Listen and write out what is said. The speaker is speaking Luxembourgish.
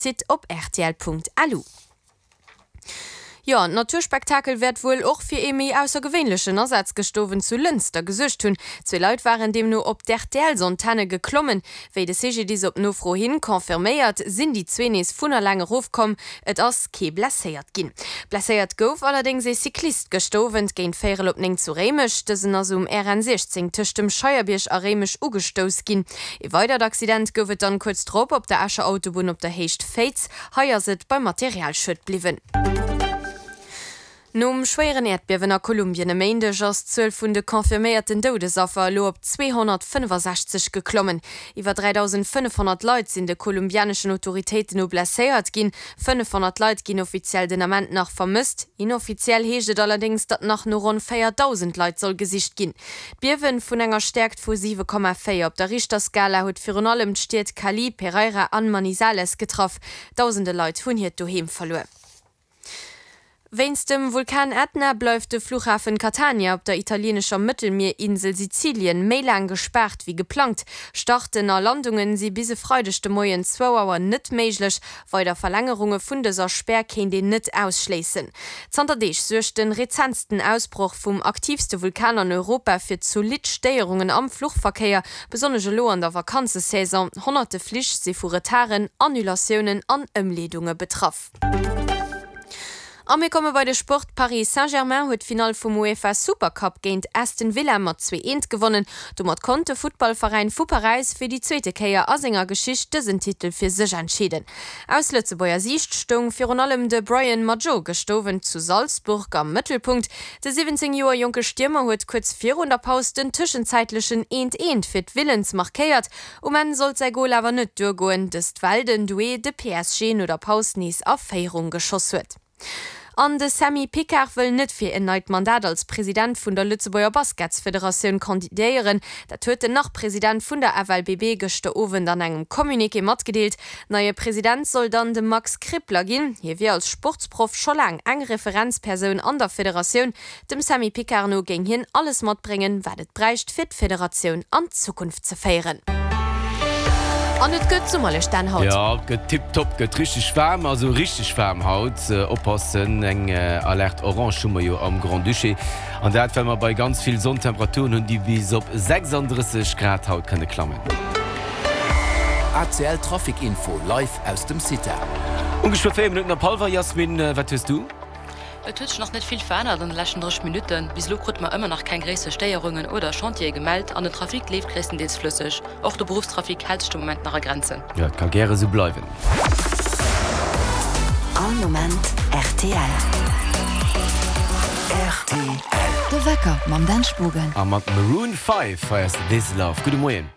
Site op rtl.lu. Jo, an d'Naturspektakel wäert wuel och fir ee méi aussergewéinlechen Asaz gëscht Owend zu Lënster gesuergt hunn. Zwee Leit waren deemno op d'RTLs-Antenne geklommen. Wéi de CGDIS op Nofro hin confirméiert, sinn déi zwee nees vun eleng erofkomm. Et ass kee blesséiert ginn. Blesséiert gouf allerdéngs ee Cyclist gëscht Owend géint véierel op 9 zu Réimech. Dësen ass um RN 16 tëscht dem Scheierbierg a Réimech ugestouss ginn. Ee weidert Accident gouf et dann kuerz drop op der Escher Autobunn op der Héicht Féiz. Hei ass et beim Materialschued bliwwen. Nom schwéieren Äerdbiewen a Kolumbien e Méindeg ass d'Zuel vun de confirméierten Doudesaffer elo op 265 geklommen. Iwwer 3.500 Leit sinn de kolumbianeschen Autoritéiten no blesséiert ginn. 500 Leit ginn offiziell den Ament nach vermësst. Inoffiziell heescht et allerdéngs, datt nach no ronn 4.000 Leit soll gesicht ginn. D'Biewen vun enger Stäerkt vu 7,4 op der Richterskala huet virun allem d'Stied Cali, Pereira an Manizales getraff. Dausende Leit hunn hiert Doheem verluer. Wéinst dem Vulkan Ätna bleift de Fluchhafen Catania op der italieenescher Mëttelmierinsel Sizilien méi laang gespaart wéi geplangt. Starten a Landungen si bis e Freideg de Moien zwou Auer net méiglech. Weider Verlängerunge vun dëser Spär kéint een net ausschléissen. Zanter Deeg suergt de rezentsten Ausbroch vum aktiivste Vulkan an Europa fir zolidd Stéierungen am Fluchverkéier, besonnesch elo an der Vakanzesaison. Honnerte Flich si vu Retarden, Annulatiounen an Ëmleedunge betraff. A mir komme bei de Sport, Paris Saint-Germain huet d'Finall vum UEFA Supercup géint Aston Villa mat 2, 1 gewonnen. Domat konnt de Futtballveräin vu Paräis fir déi zweete Kéier a senger Geschicht dësen Titel fir sech entscheeden. Aus Lëtzebuerger Siicht stoung virun allem de Brian Madjo gëscht Owend zu Salzburg am Mëttelpunkt. De 17 Joer jonke Stiermer huet kuerz virun der Paus den tëschenzäitlechen Eent Eent fir d'Villans markéiert. Um Enn sollt säi Gol awer net duergoen, dëst well den Doué de PSG no der Paus nees a Féierung geschoss huet. An de Sammy Picard wëll net fir en neit Mandat als President vun der Lëtzebuerger Basketsfederatioun kandidéieren. Dat huet den Nach-President vun der FLBB gëschter Owend an engem Communiqué matgedeelt. Neie President soll dann de Max Krippler ginn. Hie wier als Sportsproff scho laang eng Referenzpersoun an der Federatioun. Dem Sammy Picard no géing hien alles matbréngen, wat et bräicht, fir d'Federatioun an d'Zukunft ze féieren. An et gëtt summerlech dann haut. Jo, et gëtt tiptop, gëtt richteg waarm, also richteg waarm haut. Oppassen, eng Alerte orange hu mer jo am Grand-Duché. An dat well mer bei ganz vill Sonn Temperaturen hunn, déi bis op 36 Grad haut kënne klammen. ACL Trafic Info live aus dem CITA. Ongeféier 4 Minutten op hallwer, Jasmin, wat hues du? Et huet sech nach net vill verännert an de leschten 30 Minutten. Bis elo krute mer ëmmer nach keng gréisser Stéierungen oder Chantiere gemellt an den Trafic leeft gréisstendeels flësseg. Och de Beruffstrafic hält sech de Moment nach a Grenzen. Jo, et ka gäre sou bleiwen. All Moment rtl. Rtl. De Wecker mam Dan Spogen. A mat Maroon 5 hei ass This Love. Gudde Moien.